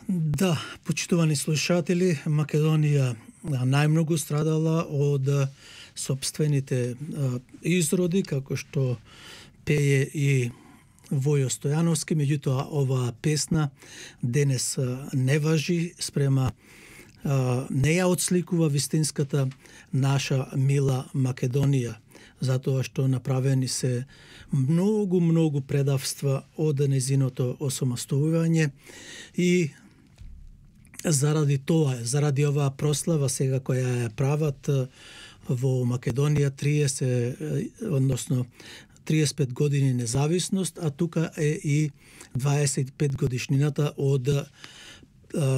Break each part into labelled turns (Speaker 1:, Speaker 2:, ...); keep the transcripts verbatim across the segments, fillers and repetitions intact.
Speaker 1: Да, почитувани слушатели, Македонија најмногу страдала од сопствените изроди, како што пее и Војо Стојановски, меѓутоа оваа песна денес не важи спрема, не ја отсликува вистинската наша мила Македонија, затоа што направени се многу, многу предавства од незиното осамостојување и заради тоа, заради оваа прослава сега која ја прават во Македонија триесет, односно триесет и пет години независност, а тука е и дваесет и пет годишнината од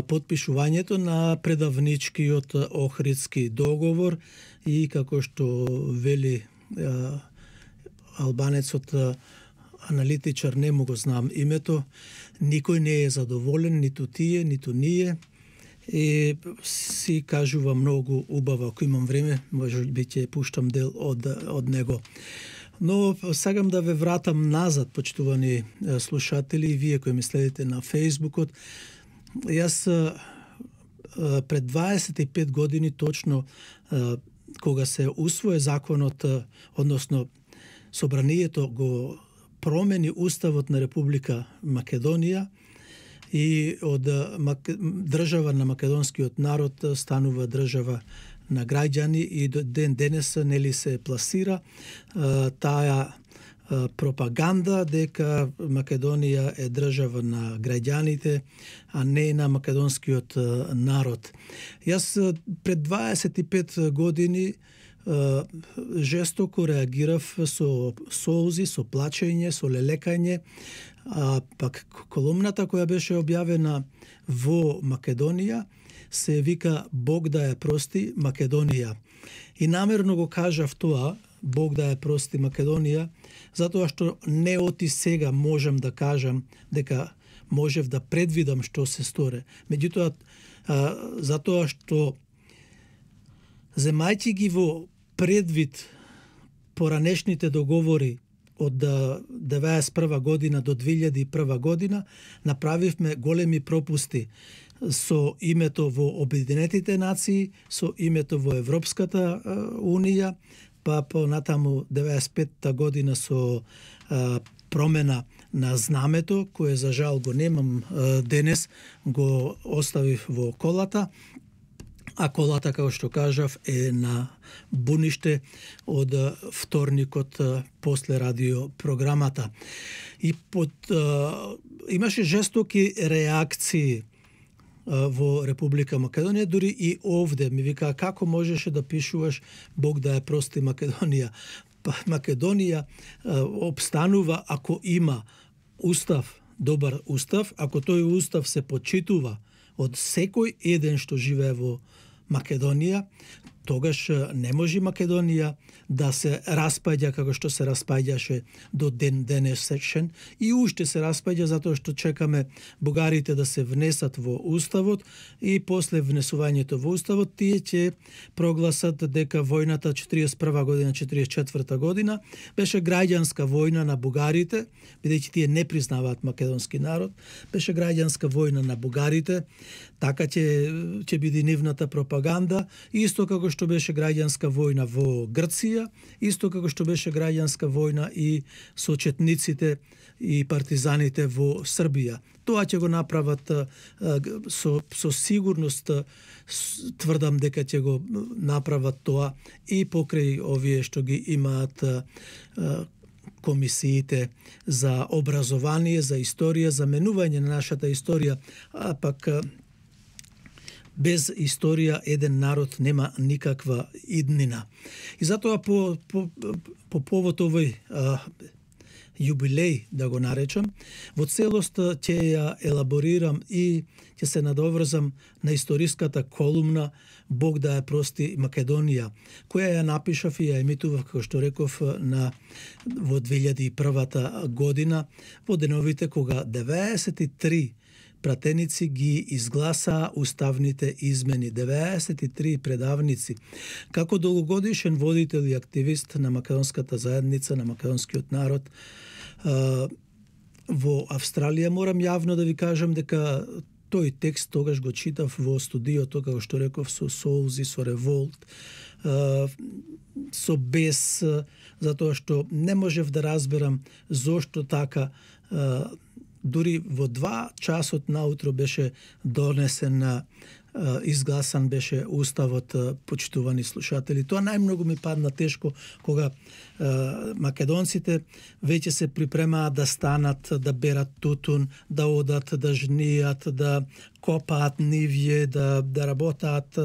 Speaker 1: потпишувањето на предавничкиот Охридски договор и како што вели албанецот аналитичар, не му го знам името, никој не е задоволен, ниту тие, ниту ние. И си кажува многу убаво, ако имам време, може би ќе пуштам дел од, од него. Но сакам да ве вратам назад, почитувани слушатели, и вие кои ме следите на Фејсбукот. Јас пред дваесет и пет години точно, кога се усвои законот, односно собранието го промени уставот на Република Македонија и од држава на македонскиот народ станува држава на граѓани и до ден денес нели се пласира таа пропаганда дека Македонија е држава на граѓаните, а не на македонскиот народ. Јас пред дваесет и пет години жестоко реагирав со солзи, со плачење, со лелекање, а пак колумната која беше објавена во Македонија се вика Бог да ја прости Македонија. И намерно го кажав тоа, Бог да ја прости Македонија, затоа што не оти сега можам да кажам дека можев да предвидам што се сторе. Меѓутоа, затоа што земајќи ги во предвид поранешните договори од деветдесет и прва година до две илјади и прва година, направивме големи пропусти со името во Обединетите нации, со името во Европската унија, па понатаму деветдесет и петта година со а, промена на знамето, кое за жал го немам а, денес, го оставив во колата, а колата, како што кажав, е на буниште од вторникот после радиопрограмата. И под, а, имаше жестоки реакции во Република Македонија, дури и овде ми вика како можеше да пишуваш Бог да ја прости Македонија. Па Македонија обстанува ако има устав, добар устав, ако тој устав се почитува од секој еден што живее во Македонија, тогаш не може Македонија да се распаѓа како што се распаѓаше до ден денешен и уште се распаѓа затоа што чекаме бугарите да се внесат во уставот и после внесувањето во уставот тие ќе прогласат дека војната четириесет и прва година четириесет и четврта година беше граѓанска војна на бугарите, бидејќи тие не признаваат македонски народ, беше граѓанска војна на бугарите, така ќе ќе биде нивната пропаганда, исто како што беше граѓанска војна во Грција, исто како што беше граѓанска војна и со четниците и партизаните во Србија. Тоа ќе го направат со, со сигурност, тврдам дека ќе го направат тоа и покрај овие што ги имаат комисиите за образование, за историја, за менување на нашата историја, а пак без историја еден народ нема никаква иднина. И затоа по, по, по повод овој а, јубилеј, да го наречам, во целост ќе ја елаборирам и ќе се надоврзам на историската колумна Бог да ја прости Македонија, која ја напишав и ја емитував, како што реков, на, во две илјади и прва година, во деновите кога деветдесет и три пратеници ги изгласаа уставните измени, деветдесет и три предавници. Како долгогодишен водител и активист на македонската заедница, на македонскиот народ, во Австралија морам јавно да ви кажам дека тој текст тогаш го читав во студиото, како што реков, со солзи, со револт, со бес, затоа што не можев да разберам зошто така. Дури во два часот наутро беше донесен, изгласан беше уставот, почитувани слушатели. Тоа најмногу ми падна тешко кога македонците веќе се припремаат да станат, да берат тутун, да одат, да жнијат, да копаат нивје, да, да работаат,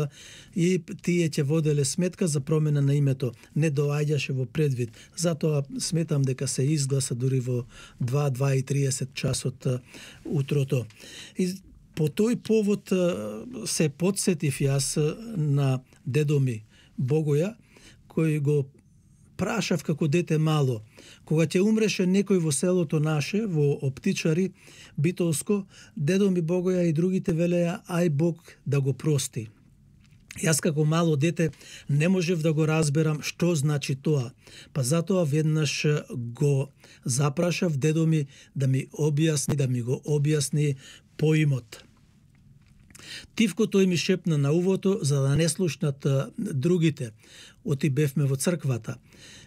Speaker 1: и тие ќе воделе сметка за промена на името. Не доаѓаше во предвид. Затоа сметам дека се изгласа дури во два, два и триесет часот утрото. И по тој повод се подсетив јас на дедо ми Богоја, кој го прашав како дете мало. Кога ќе умреше некој во селото наше, во Оптичари, Битолско, дедо ми Богоја и другите велеа, ај Бог да го прости. Јас како мало дете не можев да го разберам што значи тоа, па затоа веднаш го запрашав дедо ми да ми објасни, да ми го објасни поимот. Тивко тој ми шепна на увото, за да не слушнат другите. Оти бевме во црквата.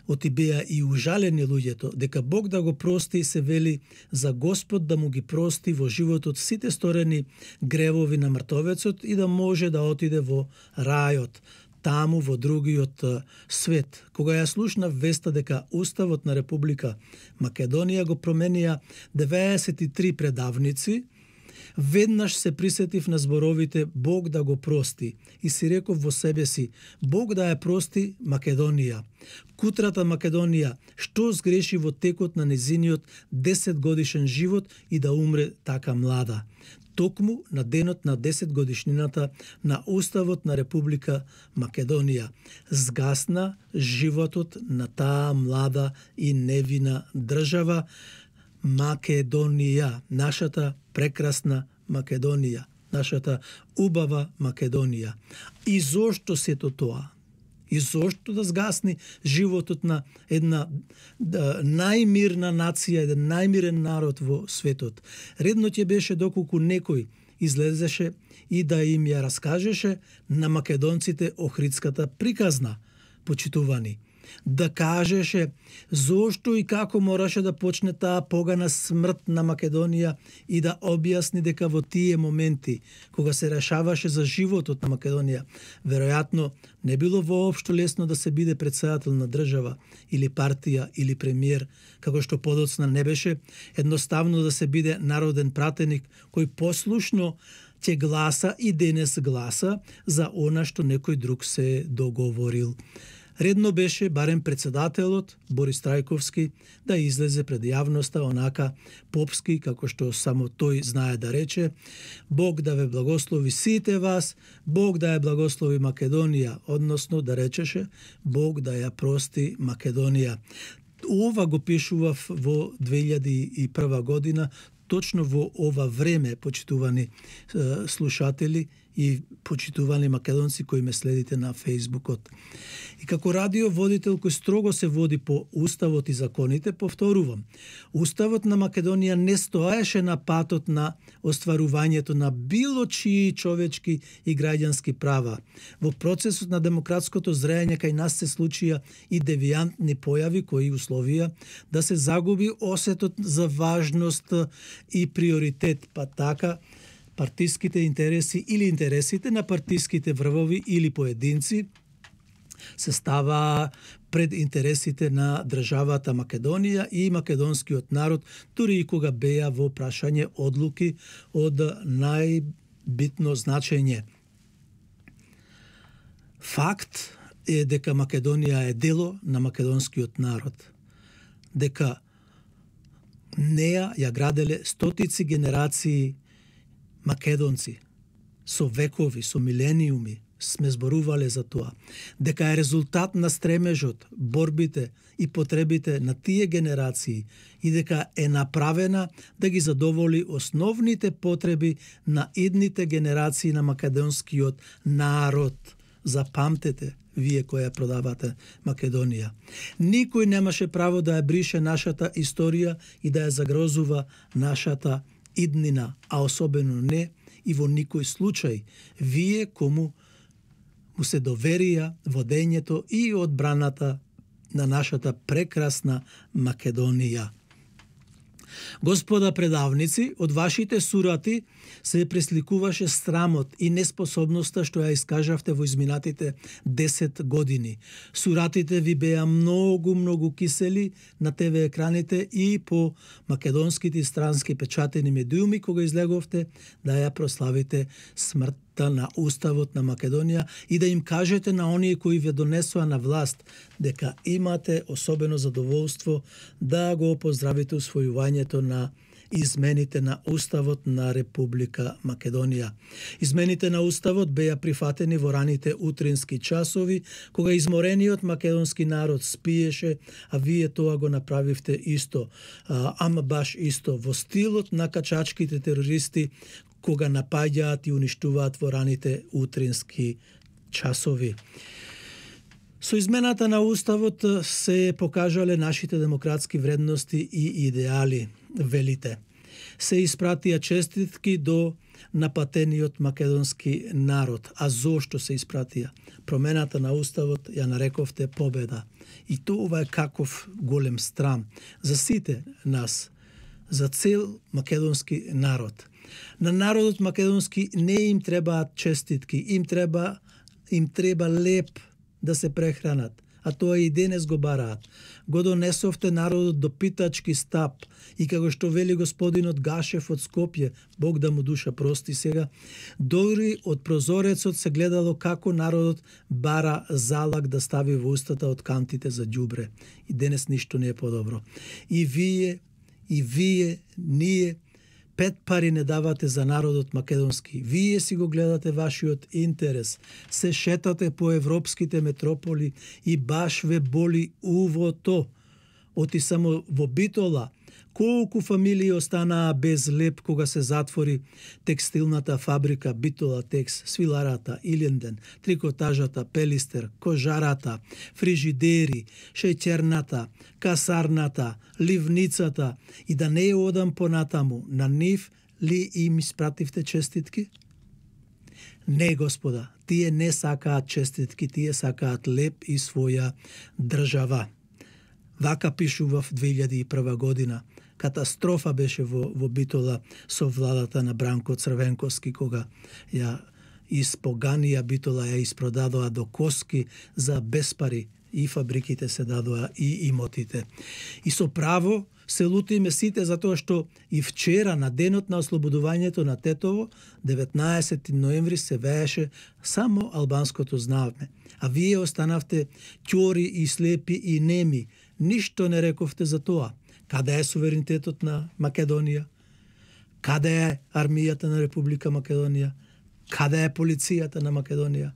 Speaker 1: Оти беа и ужалени луѓето, дека Бог да го прости, се вели за Господ да му ги прости во животот сите сторени гревови на мртовецот и да може да отиде во рајот, таму во другиот свет. Кога ја слушнав веста дека Уставот на Република Македонија го променија деветдесет и три предавници, веднаш се присетив на зборовите Бог да го прости и си реков во себе си, Бог да ја прости Македонија. Кутрата Македонија, што сгреши во текот на незиниот десет годишен живот и да умре така млада. Токму на денот на десет годишнината на Уставот на Република Македонија згасна животот на таа млада и невина држава Македонија, нашата прекрасна Македонија, нашата убава Македонија. И зошто сето тоа? И зошто да згасни животот на една да, најмирна нација, еден најмирен народ во светот? Редно ќе беше доколку некој излезеше и да им ја раскажеше на македонците Охридската приказна, почитувани. Да кажеше зошто и како мораше да почне таа погана смрт на Македонија и да објасни дека во тие моменти, кога се решаваше за животот на Македонија, веројатно не било воопшто лесно да се биде претседател на држава или партија или премиер, како што подоцна не беше едноставно да се биде народен пратеник кој послушно ќе гласа и денес гласа за она што некој друг се договорил. Редно беше барем председателот Борис Трајковски да излезе пред јавноста онака попски, како што само тој знае да рече, Бог да ве благослови сите вас, Бог да ја благослови Македонија, односно да речеше Бог да ја прости Македонија. Ова го пишував во две илјади и прва година, точно во ова време, почитувани е, слушатели и почитувани македонци кои ме следите на Фејсбукот. И како радиоводител кој строго се води по Уставот и законите, повторувам, Уставот на Македонија не стоеше на патот на остварувањето на било чии човечки и граѓански права. Во процесот на демократското зрејање кај нас се случија и девијантни појави кои условија да се загуби осетот за важност и приоритет, па така партиските интереси или интересите на партиските врвови или поединци се става пред интересите на државата Македонија и македонскиот народ, дури и кога беа во прашање одлуки од најбитно значење. Факт е дека Македонија е дело на македонскиот народ, дека неа ја граделе стотици генерации македонци, со векови, со милениуми, сме зборувале за тоа, дека е резултат на стремежот, борбите и потребите на тие генерации и дека е направена да ги задоволи основните потреби на идните генерации на македонскиот народ. Запамтете, вие која продавате Македонија. Никој немаше право да ја брише нашата историја и да ја загрозува нашата иднина, а особено не и во никој случај вие кому му се доверија водењето и одбраната на нашата прекрасна Македонија. Господа предавници, од вашите сурати се пресликуваше срамот и неспособноста што ја искажавте во изминатите десет години. Суратите ви беа многу, многу кисели на те ве екраните и по македонските странски печатени медиуми кога излеговте да ја прославите смртта на Уставот на Македонија и да им кажете на оние кои ве донесоа на власт дека имате особено задоволство да го поздравите усвојувањето на измените на Уставот на Република Македонија. Измените на Уставот беа прифатени во раните утрински часови, кога изморениот македонски народ спиеше, а вие тоа го направивте исто, ама баш исто, во стилот на качачките терористи, кога напаѓаат и уништуваат во раните утрински часови. Со измената на Уставот се покажале нашите демократски вредности и идеали, велите. Се испратија честитки до напатениот македонски народ. А зошто се испратија? Промената на Уставот ја нарековте победа. И тоа е каков голем страм за сите нас, за цел македонски народ. На народот македонски не им требаат честитки, им треба, им треба леп да се прехранат, а тоа и денес го бараат. Го донесовте народот до питачки стап и како што вели господинот Гашев од Скопје, Бог да му душа прости сега, дори од прозорецот се гледало како народот бара залак да стави во устата од кантите за ѓубре. И денес ништо не е подобро. И вие, и вие, ние, пет пари не давате за народот македонски. Вие си го гледате вашиот интерес. Се шетате по европските метрополи и баш ве боли увото. Оти само во Битола, колку фамилии останаа без леп кога се затвори текстилната фабрика Битола Текс, свиларата, Илинден, трикотажата, Пелистер, кожарата, фрижидери, шеќерната, касарната, ливницата и да не одам понатаму, на нив ли им испративте честитки? Не, господа, тие не сакаат честитки, тие сакаат леп и своја држава. Вака пишував две илјади и прва година. Катастрофа беше во, во Битола со владата на Бранко Црвенковски, кога ја испоганија Битола, ја испродадоа до коски за безпари и фабриките се дадоа и имотите. И со право се лутиме сите затоа што и вчера на денот на ослободувањето на Тетово, деветнаесети ноември, се вееше само албанското знаме. А вие останавте ќори и слепи и неми. Ништо не рековте за тоа. Каде е суверенитетот на Македонија? Каде е армијата на Република Македонија? Каде е полицијата на Македонија?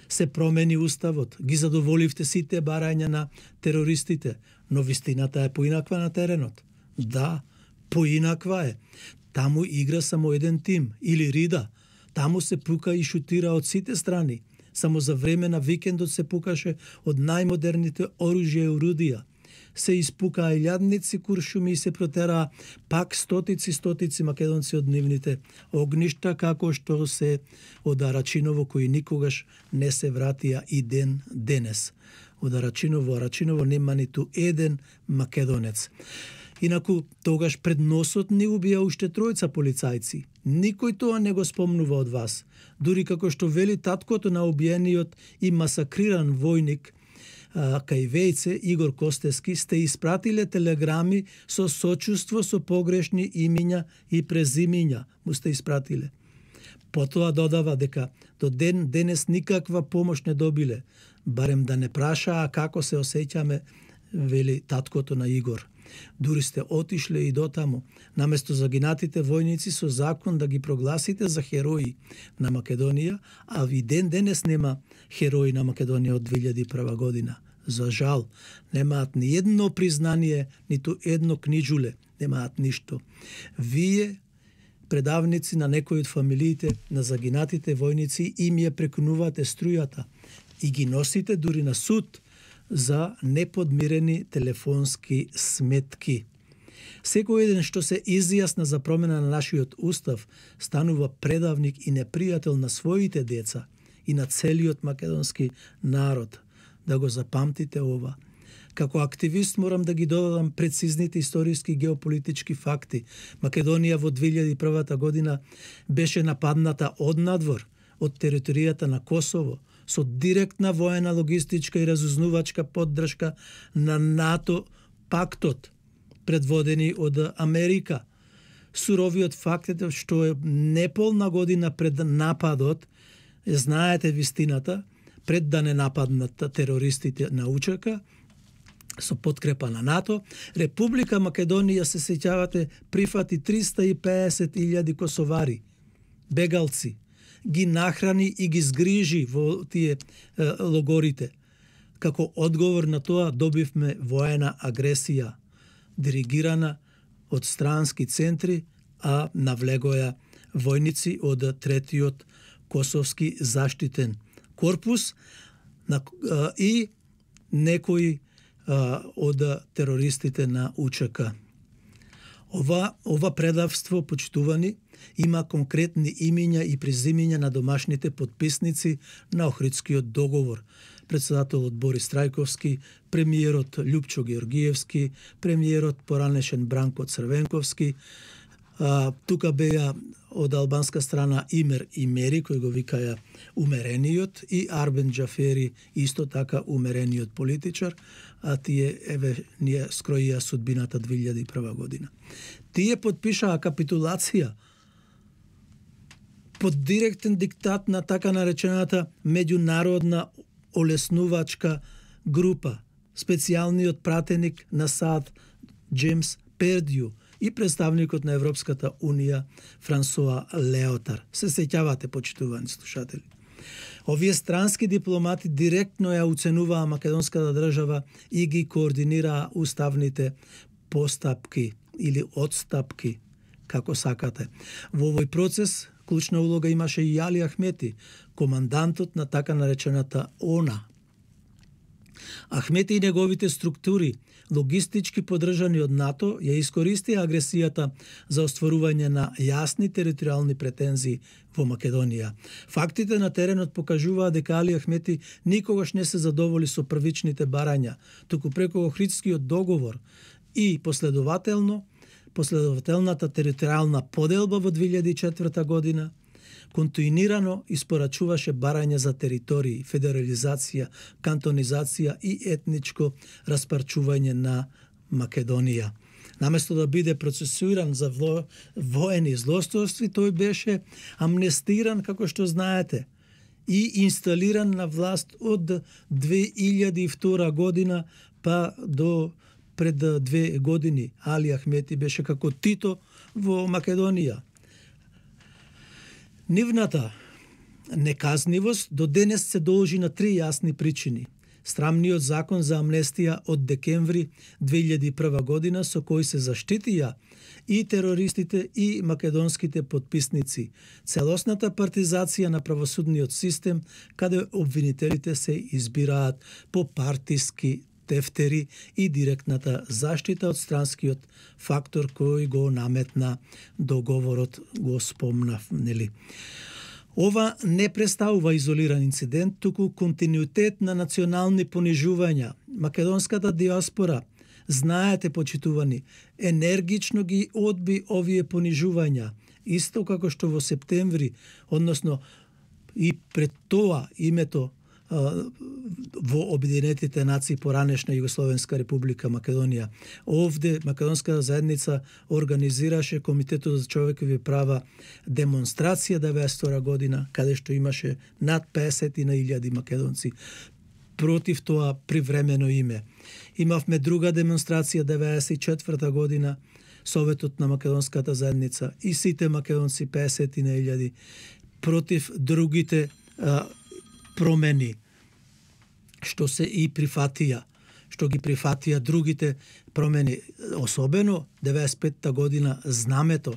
Speaker 1: Се промени уставот, ги задоволивте сите барања на терористите, но вистината е поинаква на теренот. Да, поинаква е. Таму игра само еден тим, или Рида. Таму се пука и шутира од сите страни. Само за време на викендот се пукаше од најмодерните оружја и орудија. Се испукаа илјадници куршуми и се протераа пак стотици стотици македонци од нивните огништа, како што се од Арачиново, кои никогаш не се вратија и ден денес. Од Арачиново, Арачиново нема ниту еден македонец. Инаку, тогаш пред носот ни убија уште тројца полицајци. Никој тоа не го спомнува од вас. Дури како што вели таткото на убиениот и масакриран војник кај Вејце, Игор Костески, сте испратиле телеграми со сочувство со погрешни имиња и презимиња. Му сте испратиле. Потоа додава дека до ден денес никаква помош не добиле. Барем да не прашаа како се осеќаме, вели таткото на Игор. Дури сте отишле и дотаму, наместо загинатите војници со закон да ги прогласите за херои на Македонија, а и ден денес нема херои на Македонија од две илјади и прва година. За жал, немаат ни едно признание, ниту едно книџуле, немаат ништо. Вие, предавници на некои од фамилиите на загинатите војници, им ја прекунувате струјата и ги носите дури на суд за неподмирени телефонски сметки. Секој еден што се изјасна за промена на нашиот устав станува предавник и непријател на своите деца и на целиот македонски народ. Да го запамтите ова. Како активист морам да ги додадам прецизните историски геополитички факти. Македонија во две илјади и прва година беше нападната од надвор, од територијата на Косово, со директна воена, логистичка и разузнувачка поддршка на НАТО пактот, предводени од Америка. Суровиот факт е што е неполна година пред нападот, знаете вистината, пред да не нападнат терористите на УЧК, со подкрепа на НАТО, Република Македонија, се сеќавате, прифати триста и песет илјади косовари, бегалци, ги нахрани и ги згрижи во тие е, логорите. Како одговор на тоа добивме воена агресија, диригирана од странски центри, а навлегоја војници од третиот косовски заштитен корпус на, а, и некои а, од терористите на УЧК. Ова, ова предавство, почитувани, има конкретни имиња и презимиња на домашните потписници на Охридскиот договор. Председателот Борис Трајковски, премиерот Љупчо Георгиевски, премиерот поранешен Бранко Црвенковски, а, тука беа од албанска страна Имер Имери, кој го викаја умерениот, и Арбен Џафери, исто така умерениот политичар, а тие, еве, ние скроија судбината две илјади и прва година. Тие подпишаа капитулација под директен диктат на така наречената меѓународна олеснувачка група, специјалниот пратеник на САД Джеймс Пердју и представникот на Европската унија Франсоа Леотар. Се сеќавате, почитувани слушатели. Овие странски дипломати директно ја уценуваа македонската држава и ги координираа уставните постапки или одстапки, како сакате. Во овој процес клучна улога имаше и Али Ахмети, командантот на така наречената ОНА. Ахмети и неговите структури, логистички поддржани од НАТО, ја искористија агресијата за остварување на јасни територијални претензии во Македонија. Фактите на теренот покажуваат дека Али Ахмети никогаш не се задоволи со првичните барања, туку преку Охридскиот договор и последователно последователната територијална поделба во две илјади и четврта година континуирано испорачуваше барање за територии, федерализација, кантонизација и етничко распарчување на Македонија. Наместо да биде процесуиран за во, воени злосторства, тој беше амнестиран, како што знаете, и инсталиран на власт од две илјади и втора година па до пред две години. Али Ахмети беше како Тито во Македонија. Нивната неказнивост до денес се должи на три јасни причини. Срамниот закон за амнестија од декември две илјади и прва година, со кој се заштитија и терористите и македонските потписници, целосната партизација на правосудниот систем, каде обвинителите се избираат по партиски тефтери и директната заштита од странскиот фактор кој го наметна договорот, го спомнав, нели? Ова не представува изолиран инцидент, туку континуитет на национални понижувања. Македонската диаспора, знаете, почитувани, енергично ги одби овие понижувања, исто како што во септември, односно и пред тоа името во Обединетите нации поранешна Југословенска република Македонија. Овде македонската заедница организираше Комитетот за човекови права демонстрација деветдесет и втора година, каде што имаше над песет илјади македонци против тоа привремено име. Имавме друга демонстрација деветдесет и четврта година, Советот на македонската заедница и сите македонци песет илјади против другите а, промени, што се и прифатија, што ги прифатија другите промени, особено деветдесет и петта година знамето,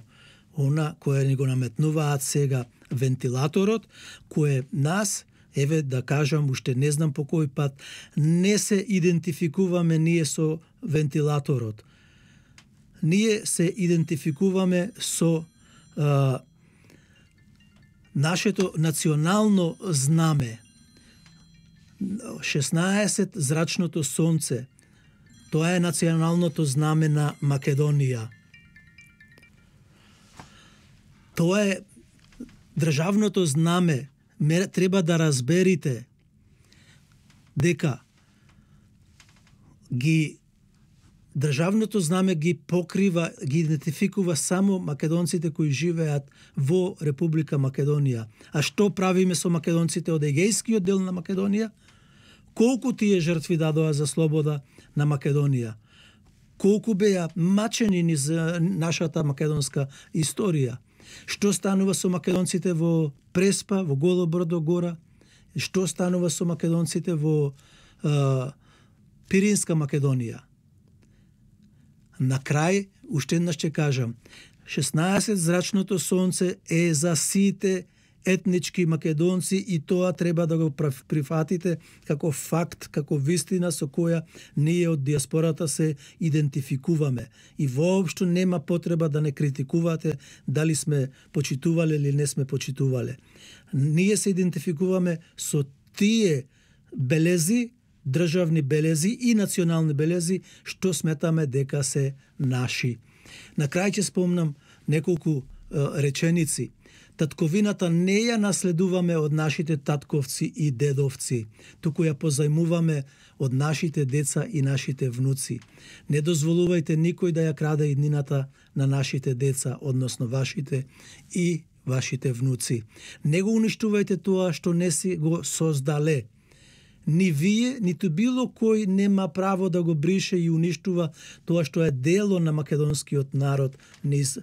Speaker 1: она кое ни го наметнуваат сега вентилаторот, кое нас, еве да кажам, уште не знам по кој пат, не се идентификуваме ние со вентилаторот. ние се идентификуваме со а, нашето национално знаме. шеснаесет зрачното сонце. Тоа е националното знаме на Македонија. Тоа е државното знаме. Треба да разберите дека ги државното знаме ги покрива, ги идентификува само македонците кои живеат во Република Македонија. А што правиме со македонците од Егејскиот дел на Македонија? Колку тие жртви дадоа за слобода на Македонија? Колку беа мачени низ нашата македонска историја? Што станува со македонците во Преспа, во Голо Брдо гора? Што станува со македонците во а, Пиринска Македонија? На крај, уште еднаш ќе кажам, шеснаесет зрачното сонце е за сите етнички македонци и тоа треба да го прифатите како факт, како вистина со која ние од диаспората се идентификуваме. И воопшто нема потреба да не критикувате дали сме почитувале или не сме почитувале. Ние се идентификуваме со тие белези, државни белези и национални белези, што сметаме дека се наши. На крај ќе спомнам неколку е, реченици. Татковината не ја наследуваме од нашите татковци и дедовци, туку ја позајмуваме од нашите деца и нашите внуци. Не дозволувајте никој да ја краде иднината на нашите деца, односно вашите и вашите внуци. Не го уништувајте тоа што не си го создале. Ни вие, ниту било кој нема право да го брише и уништува тоа што е дело на македонскиот народ низ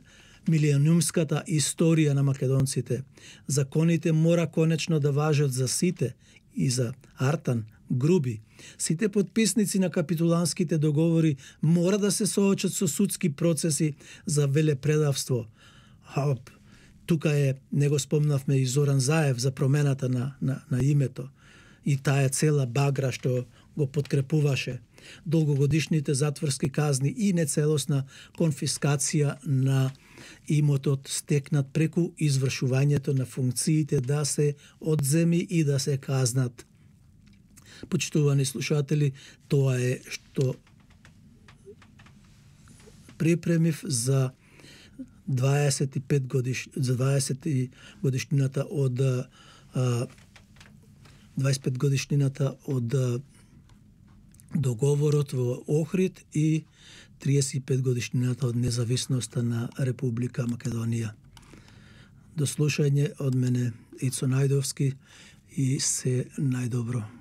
Speaker 1: милионумската историја на македонците. Законите мора конечно да важат за сите, и за Артан, Груби. Сите подписници на капитуланските договори мора да се соочат со судски процеси за велепредавство. Хоп, тука е, не го спомнавме и Зоран Заев за промената на, на, на името. И таа цела багра што го подкрепуваше. Долгогодишните затворски казни и нецелосна конфискација на имотот стекнат преку извршувањето на функциите да се одземи и да се казнат. Почитувани слушатели, тоа е што припремив за дваесет и пет годиш, за дваесет годишнината од а, дваесет и пет годишнината од договорот во Охрид и триесет и пет годишнината од независноста на Република Македонија. До слушање од мене Ицо Најдовски и се најдобро.